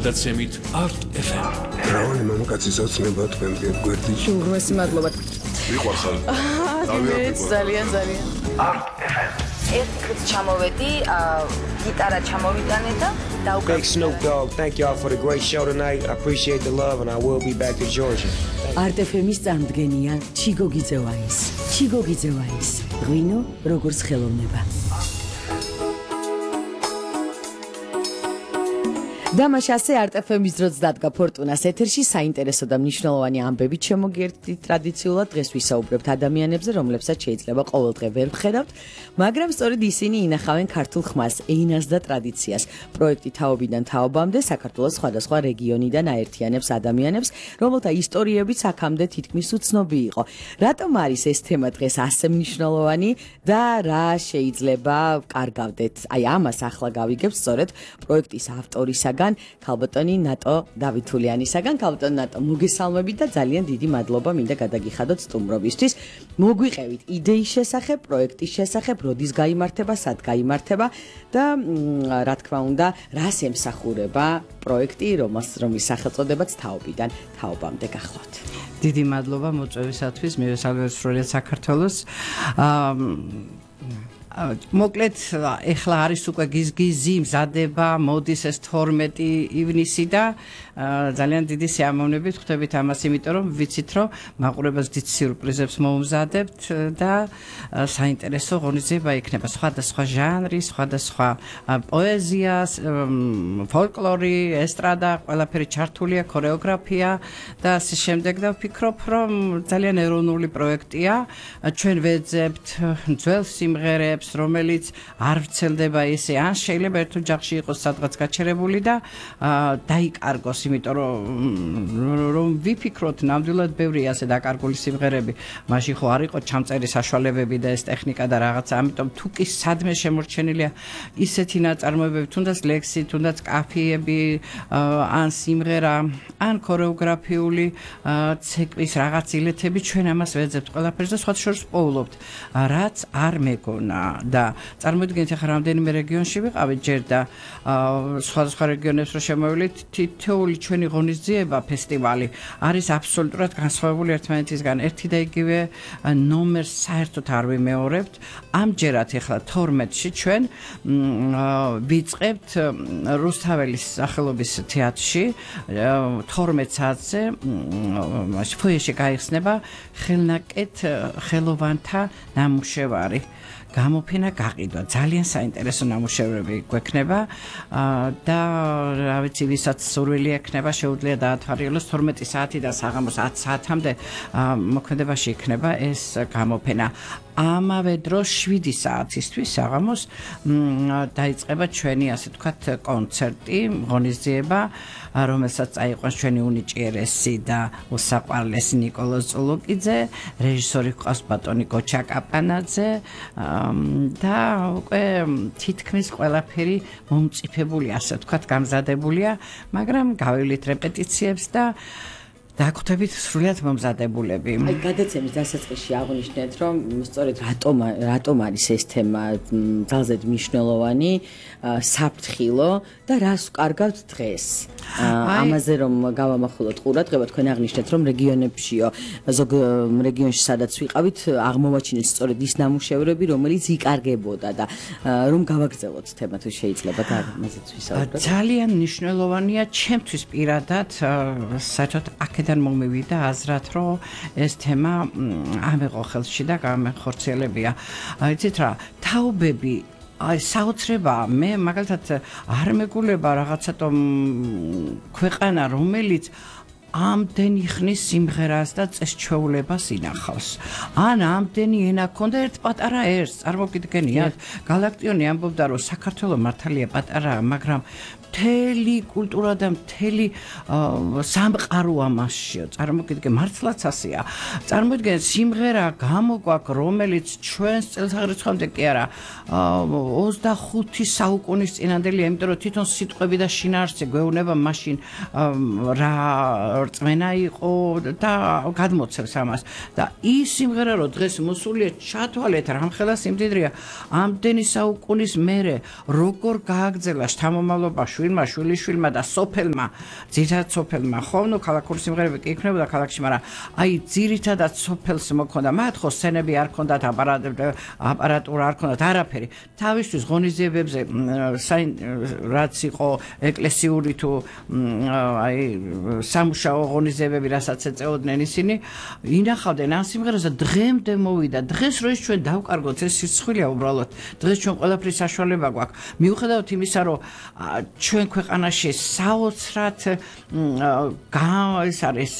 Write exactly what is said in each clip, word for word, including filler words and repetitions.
გადაცემით Art ეფ ემ. რავანი მამაკაცის ოცნება თქვენზე გვერდიში. უღმესი მადლობა. მიყვარხარ. მეც ძალიან ძალიან. Art ეფ ემ. ერთი დღით ჩამოვედი, გიტარა ჩამოვიტანე და დაუკრავდი. Big Snoop Dogg, thank y'all for the great show tonight. I appreciate the love and I will be back to Georgia. Art ეფ ემ-ის წამდგენია ჩიგო გიძევაის. ჩიგო გიძევაის. ღვინო როგორც ხელოვნება. დამაშასე Art ეფ ემ-ის დროც დადგა ფორტუნას ეთერში საინტერესო და მნიშვნელოვანი ამბებით შემოგიერთდით. ტრადიციულად დღეს ვისაუბრებთ ადამიანებზე, რომლებსაც შეიძლება ყოველდღე ვერ ვხედავთ, მაგრამ სწორედ ისინი ინახავენ ქართულ ხმას, ენას და ტრადიციას. პროექტი თაობიდან თაობამდე საქართველოს სხვადასხვა რეგიონიდან აერთიანებს ადამიანებს, რომელთა ისტორიებიც აქამდე თითქმის უცნობი იყო. რატომ არის ეს თემა დღეს ასე მნიშვნელოვანი და რა შეიძლება კარგავდეთ? აი ამას ახლა გავიგებთ სწორედ პროექტის ავტორისაგან ქალბატონი ნატო დავითულიანისაგან. ქალბატონი ნატო, მოგესალმებით და ძალიან დიდი მადლობა მინდა გადაგიხადოთ სტუმრობისთვის. მოგვიყევით იდეის შესახებ, პროექტის შესახებ, როდის გაიმართება, სად გაიმართება და რა თქმა უნდა, რას ემსახურება პროექტი, რომელს რომლის სახელწოდებაც თაობიდან თაობამდე გახლავთ. დიდი მადლობა მოწვევისათვის, მივესალმებით სრულიად საქართველოს. მოკლედ ეხლა არის უკვე გიზგიზი მზადება, მოდის ეს თორმეტი ივნისი და ძალიან დიდი სიამოვნებით ხვდებით ამას, იმიტომ რომ ვიცით რომ მაყურებელს დიდ სიურპრიზებს მოუმზადებთ და საინტერესო ღონისძიება იქნება. სხვადასხვა ჟანრი, სხვადასხვა პოეზია, ფოლკლორი, ესტრადა, ყველაფერი ჩართულია, ქორეოგრაფია და ასე შემდეგ და ვფიქრობ რომ ძალიან ეროვნული პროექტია. ჩვენ ვეძებთ ძველ სიმღერებს, რომელიც არ ვრცელდება ესე, ან შეიძლება ერთ ოჯახში იყოს სადღაც გაჩერებული და დაიკარგოს, იმიტომ რომ ვიფიქროთ ნამდვილად ბევრი ასე დაკარგული სიმღერები, მაშინ ხო არ იყო ჩამწერი საშუალებები და ეს ტექნიკა და რაღაცა, ამიტომ თუ კი სადმე შემორჩენილია ისეთი ნაწარმოებები, თუნდაც ლექსი, თუნდაც კაფიები, ან სიმღერა, ან ქორეოგრაფიული ცეკვის რაღაც ილეთები, ჩვენ ამას ვეძებთ ყველაფერს და სხვათა შორის პოულობთ, რაც არ მეგონა. და წარმოიდგინეთ ახლა რამდენიმე რეგიონში ვიყავით ჯერ და სხვადასხვა რეგიონებს რო შემოვიდით, თითოეული ჩვენი ღონისძიება, ფესტივალი არის აბსოლუტურად განსხვავებული ერთმანეთისგან. ერთი და იგივე ნომერს საერთოდ არ ვიმეორებთ. ამჯერად ახლა თორმეტში ჩვენ ვიწყებთ რუსთაველის სახელობის თეატრში თორმეტ საათზე ფოიეში გაიხსნება ხელნაკეთ ხელოვანთა ნამუშევარი. გამოფენა გაყიდვა, ძალიან საინტერესო ნამუშევრები გვექნება და რა ვიცი, ვისაც სურვილი ექნება, შეუძლია დაათვალიეროს თორმეტი საათიდან საღამოს ათი საათამდე მოქმედებაში იქნება ეს გამოფენა. ამავე დროს შვიდი საათისთვის საღამოს დაიწყება ჩვენი ასე ვთქვათ კონცერტი, ღონისძიება, რომელსაც წაიყვანს ჩვენი უნიჭიერესი და უსაყვარლესი ნიკოლოზ წულუკიძე, რეჟისორი ჰყავს ბატონი გოჩა კაპანაძე და უკვე თითქმის ყველაფერი მომწიფებული, ასე ვთქვათ, გამზადებულია, მაგრამ გავივლით რეპეტიციებს და დაგვხვდებით სრულიად მომზადებულები. აი გადაცემის დასაწყისში აღნიშნეთ, რომ სწორედ რატომ რატომ არის ეს თემა ძალზედ მნიშვნელოვანი, საფრთხილო და რას ვკარგავთ დღეს. ამაზე რომ გავამახვილოთ ყურადღება, თქვენ აღნიშნეთ, რომ რეგიონებშიო, ზოგ რეგიონში სადაც ვიყავით, აღმოვაჩინეთ სწორედ ის ნამუშევრები, რომელიც იკარგებოდა და რომ გავაგრძელოთ თემა, თუ შეიძლება და ამაზეც ვისაუბროთ. ძალიან მნიშვნელოვანია ჩემთვის პირადად, საერთოდ აქედან მომივიდა აზრად, რომ ეს თემა ამეყო ხელში და გამეხორციელებია. იცით რა, თაობები აი საოცრებაა, მე მაგალითად არ მეგულება რაღაცა ქვეყანა, რომელიც ამდენი ხნის სიმღერას და წესჩვეულებას ინახავს. ან ამდენი ენა ქონდა ერთ პატარა ერს, წარმოგიდგენიათ? გალაქტიონი ამბობდა, რომ საქართველო მართალია პატარაა, მაგრამ მთელი კულტურა და მთელი სამყაროა მასშიო. წარმოგიდგენ, მართლაც ასეა. წარმოიდგინეთ, სიმღერა გამოგვაქვს, რომელიც ჩვენს წელთაღრიცხვამდე კი არა, ოცდახუთი საუკუნის წინანდელია, იმიტომ რომ თვითონ სიტყვები და შინაარსი გვეუბნება მაშინ რა რწმენა იყო და გადმოცემს ამას. და ის სიმღერა, რომ დღეს მოსულია, ჩათვალეთ, რამხელა სიმდიდრეა, ამდენი საუკუნის მერე როგორ გააგრძელა შთამომავლობაში შვილმა, შვილიშვილმა და სოფელმა, ძირითადად სოფელმა ხო, ნუ ქალაქური სიმღერები კი იქნებოდა ქალაქში, მაგრამ აი ძირითადად სოფელს მოქონდა. მათ ხო სცენები არ ქონდათ, აპარატურა არ ქონდათ, არაფერი. თავისთვის ღონისძიებებზე რაც იყო ეკლესიური თუ აი სამუშაო ღონისძიებები, რასაც ეწეოდნენ ისინი, ინახავდნენ ამ სიმღერას და დღემდე მოვიდა. დღეს რო ის ჩვენ დავკარგოთ, ეს სიცხვილია უბრალოდ. დღეს ჩვენ ყველაფრის საშუალება გვაქვს. მიუხედავად იმისა, რომ ჩვენ ქვეყანაში საოცრად ეს არის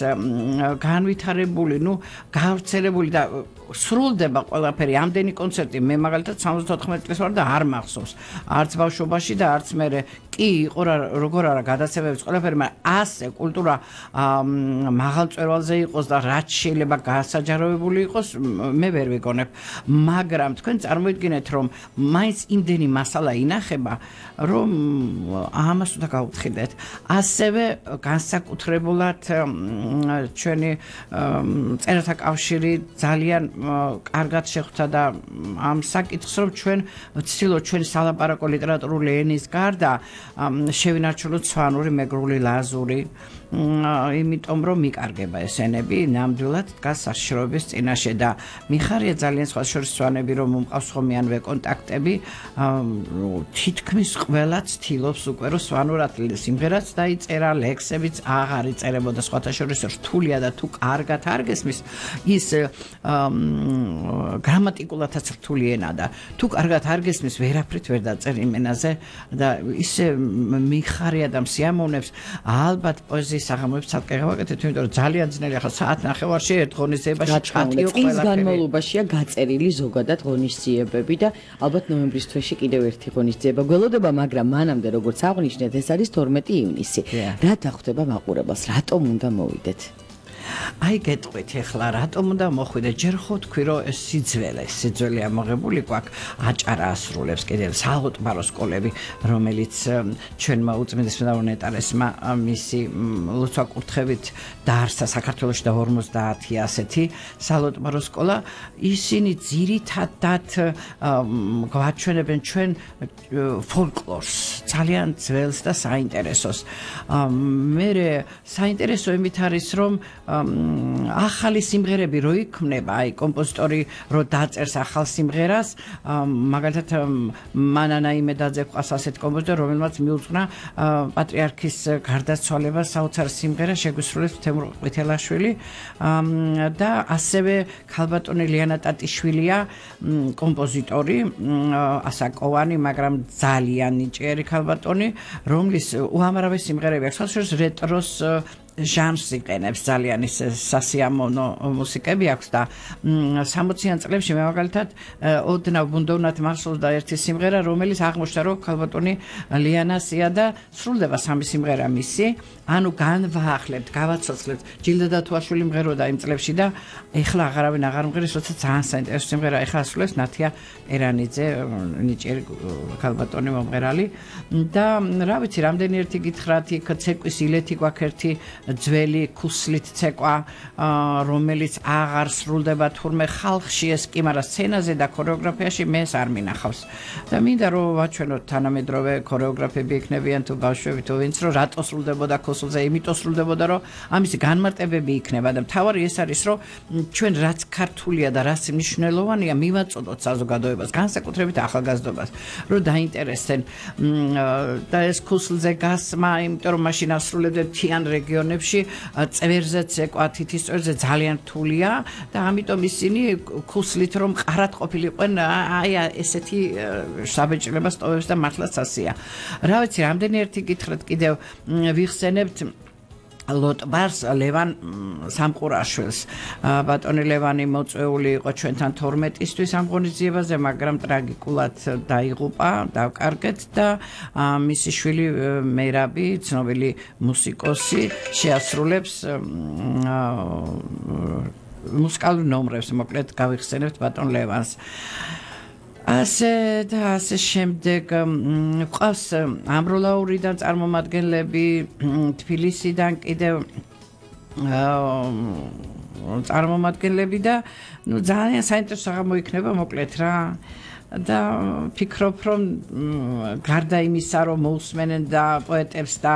განვითარებული, ნუ გავრცელებული და სრულდება ყველაფერი. ამდენი კონცერტი მე მაგალითად სამოცდაოთხმეტი წლის ვარ და არ მახსოვს. არც ბავშვობაში და არც მერე კი იყო როგორ არა გადაცემებიც ყველაფერი, მაგრამ ასე კულტურა მაღალ მწვერვალზე იყოს და რაც შეიძლება გასაჯაროებული იყოს, მე ვერ ვიგონებ. მაგრამ თქვენ წარმოიდგინეთ, რომ მაინც იმდენი მასალა ინახება, რომ ამას უნდა გავუთხიდეთ. ასევე განსაკუთრებულად ჩვენი წერათა კავშირი ძალიან კარგად შეხვდა და ამ საკითხს, რომ ჩვენ ვცდილობთ ჩვენი სალაპარაკო ლიტერატურული ენის გარდა შევინარჩუნოთ სვანური, მეგრული, ლაზური, იმიტომ რომ მიკარგება ეს ენები, ნამდვილად დგას საშიშროების წინაშე და მიხარია ძალიან სხვა შორის სვანები, რომ მომყავს ხომიანვე კონტაქტები, თითქმის ყველა ცდილობს უკვე რომ სვანურად სიმღერაც დაიწერა, ლექსებიც აღარ იწერებოდა, სხვათა შორის რთულია და თუ კარგად არ გესმის ის გრამატიკულადაც რთული ენა და თუ კარგად არ გესმის ვერაფრით ვერ დაწერ იმ ენაზე და ისე მიხარია და მსიამოვნებს ალბათ პოეზიის საღამოებს ცალკე გავაკეთეთ, იმიტომ რომ ძალიან ძნელი ახლა საათ ნახევარში ერთ ღონისძიებაში ჩატიო ყველაფერი. წლის განმავლობაშია გაწერილი ზოგადად ღონისძიებები და ალბათ ნოემბრის თვეში კიდევ ერთი ღონისძიება გველოდება, მაგრამ მანამდე როგორც აღნიშნეთ, ეს არის თორმეტი ივნისი. რა დახვდება მაყურებელს, რატომ უნდა მოვიდეთ? აი გეტყვით ახლა რატომ უნდა მოხვიდე? ჯერ ხო თქვი რომ ეს სიძველე, სიძველე ამოღებული გვაქვს, აჭარა ასრულებს კიდევ საალყმარო სკოლები, რომელიც ჩვენმა უწმიდესმა ნეტარესმა მისი ლოცვა-კურთხევით დაარსა საქართველოში და ორმოცდაათი ასეთი საალყმარო სკოლა. ისინი ძირითადად გვაჩვენებენ ჩვენ ფოლკლორს, ძალიან ძველს და საინტერესოს. მე საინტერესო იმით არის, რომ ახალი სიმღერები რო იქმნება, აი კომპოზიტორი რო დაწერს ახალ სიმღერას, მაგალითად მანანა იმედაძე ყავს ასეთ კომპოზიტორი, რომელმაც მიუძღვნა პატრიარქის გარდაცვალებას საოცარ სიმღერა შეგვისრულებს თემურ ყვითელაშვილი და ასევე ქალბატონი ლიანა ტატიშვილია კომპოზიტორი, ასაკოვანი, მაგრამ ძალიან ნიჭიერი ქალბატონი, რომლის უამრავი სიმღერები აქვს, ხალხს რეტროს ჟანრს იყენებს, ძალიან ის სასიამოვნო მუსიკები აქვს და სამოციან წლებში მე მაგალითად ოდნავ ბუნდოვნად მახსოვს და ერთი სიმღერა, რომელიც აღმოჩნდა, რომ ქალბატონი ლიანასია და სრულდება სამი სიმღერა მისი, ანუ განვაახლებთ, გავაცოცხლებთ. ჯილდა დათუაშვილი მღეროდა იმ წლებში და ეხლა აღარავინ აღარ მღერის, როცა ძალიან საინტერესო სიმღერა ეხლა ასრულებს ნათია ერანიძე, ნიჭიერი ქალბატონი მომღერალი და რა ვიცი, რამდენი ერთი გითხრათ, იქ ცეკვის ილეთი გვაქვს ერთი ძველი ქუსლით ცეკვა, რომელიც აღარ სრულდება თურმე ხალხში ეს კი, მაგრამ სცენაზე და ქორეოგრაფიაში მე ეს არ მინახავს. და მინდა რომ ვაჩვენოთ თანამედროვე ქორეოგრაფები იქნებიან თუ ბავშვები თუ ვინც, რომ რატო სრულდებოდა ქუსლზე, იმიტომ სრულდებოდა, რომ ამისი განმარტებები იქნება და მთავარი ეს არის, რომ ჩვენ რაც ქართულია და რაც მნიშვნელოვანია, მივაწოდოთ საზოგადოებას, განსაკუთრებით ახალგაზრდობას, რომ დაინტერესდნენ და ეს ქუსლზე გასმა, იმიტომ რომ მაშინ ასრულებდნენ მთიან რეგიონებში წვერზე ცეკვა, თითის წვერზე ძალიან რთულია და ამიტომ ისინი ქუსლით რომ მყარად ყოფილიყვენ, აი ესეთი საბეჭდილება სტოვებს და მართლაც ასეა. რა ვიცი, რამდენი ერთი გითხრათ კიდევ ვიხსენებთ ლოტბარს ლევან სამყურაშვილს. ბატონი ლევანი მოწვეული იყო ჩვენთან თორმეტისთვის ამ ღონისძიებაზე, მაგრამ ტრაგიკულად დაიღუპა, დავკარგეთ და მისი შვილი მერაბი, ცნობილი მუსიკოსი, შეასრულებს მუსიკალურ ნომრებს, მოკლედ გავიხსენებთ ბატონ ლევანს. ასე და ასე შემდეგ ყავს ამბროლაურიდან წარმომადგენლები, თბილისიდან კიდევ წარმომადგენლები და ნუ ძალიან საინტერესო აღმოიქნება, მოკლედ რა. და ფიქრობ რომ გარდა იმისა რომ მოусმენენ და პოეტებს და